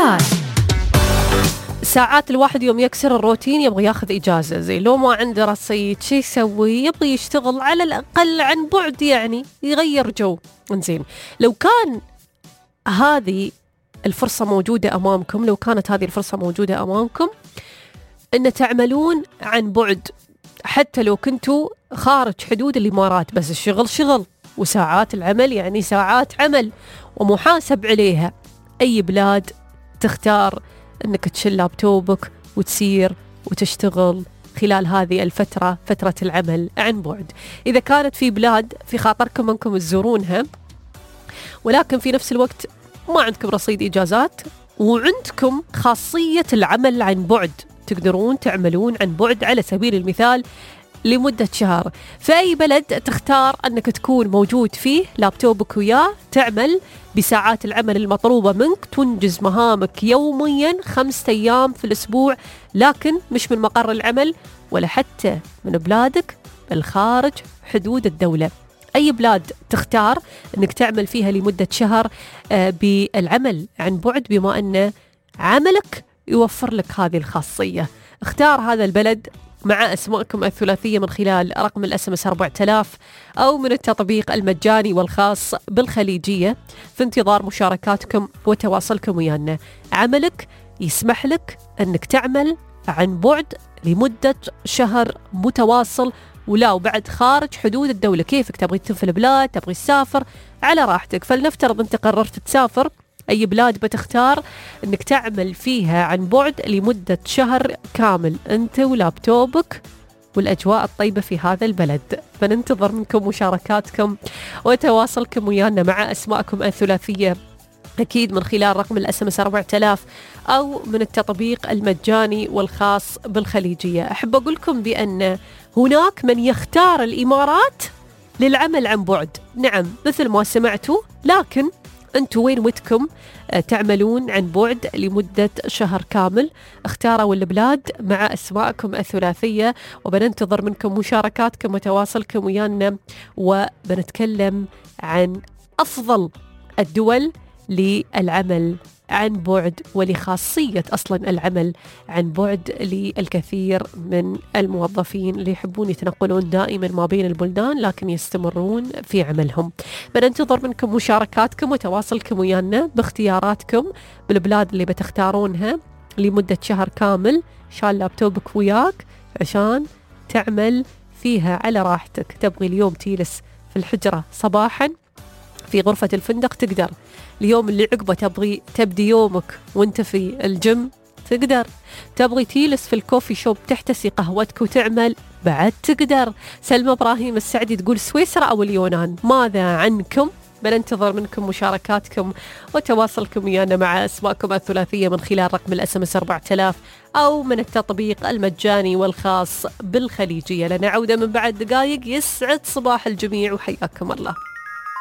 مثال. ساعات الواحد يوم يكسر الروتين يبغى ياخذ إجازة، زي لو ما عنده رصيد شي يسوي؟ يبغى يشتغل على الأقل عن بعد، يعني يغير جو. إنزين، لو كان هذه الفرصة موجودة أمامكم، لو كانت هذه الفرصة موجودة أمامكم أن تعملون عن بعد، حتى لو كنتوا خارج حدود الإمارات، بس الشغل شغل وساعات العمل يعني ساعات عمل ومحاسب عليها، أي بلاد تختار أنك تشيل لابتوبك وتسير وتشتغل خلال هذه الفترة، فترة العمل عن بعد؟ إذا كانت في بلاد في خاطركم أنكم تزورونها، ولكن في نفس الوقت ما عندكم رصيد إجازات وعندكم خاصية العمل عن بعد، تقدرون تعملون عن بعد على سبيل المثال لمدة شهر، في أي بلد تختار أنك تكون موجود فيه لابتوبك وياه، تعمل بساعات العمل المطلوبة منك، تنجز مهامك يوميا 5 أيام في الأسبوع، لكن مش من مقر العمل ولا حتى من بلادك بل خارج حدود الدولة؟ أي بلاد تختار أنك تعمل فيها لمدة شهر بالعمل عن بعد، بما أن عملك يوفر لك هذه الخاصية؟ اختار هذا البلد مع أسماءكم الثلاثية من خلال رقم الSMS 4000 أو من التطبيق المجاني والخاص بالخليجية، في انتظار مشاركاتكم وتواصلكم ويانا. عملك يسمح لك أنك تعمل عن بعد لمدة شهر متواصل، ولا وبعد خارج حدود الدولة. كيفك تبغي تنفل البلاد، تبغي تسافر، على راحتك. فلنفترض أنت قررت تسافر، أي بلاد بتختار أنك تعمل فيها عن بعد لمدة شهر كامل، أنت ولابتوبك والأجواء الطيبة في هذا البلد. فننتظر منكم مشاركاتكم وتواصلكم ويانا مع أسماءكم الثلاثية، أكيد من خلال رقم الSMS 4000 أو من التطبيق المجاني والخاص بالخليجية. أحب أقول لكم بأن هناك من يختار الإمارات للعمل عن بعد، نعم مثل ما سمعتوا، لكن أنتوا وين ودكم تعملون عن بعد لمدة شهر كامل؟ اختاروا البلاد مع أسماءكم الثلاثية، وبننتظر منكم مشاركاتكم وتواصلكم ويانا، وبنتكلم عن أفضل الدول للعمل عن بعد ولخاصية أصلا العمل عن بعد للكثير من الموظفين اللي يحبون يتنقلون دائما ما بين البلدان لكن يستمرون في عملهم. بننتظر منكم مشاركاتكم وتواصلكم ويانا باختياراتكم بالبلاد اللي بتختارونها لمدة شهر كامل، شال لابتوبك وياك عشان تعمل فيها على راحتك. تبغي اليوم تجلس في الحجرة صباحا في غرفة الفندق تقدر، اليوم اللي عقبه تبغي تبدي يومك وانت في الجيم تقدر، تبغي تجلس في الكوفي شوب تحتسي قهوتك وتعمل بعد تقدر. سلمى إبراهيم السعدي تقول سويسرا أو اليونان، ماذا عنكم؟ بننتظر منكم مشاركاتكم وتواصلكم ويانا مع أسماءكم الثلاثية من خلال رقم الSMS 4000 أو من التطبيق المجاني والخاص بالخليجية. لنا عودة من بعد دقائق. يسعد صباح الجميع وحياكم الله.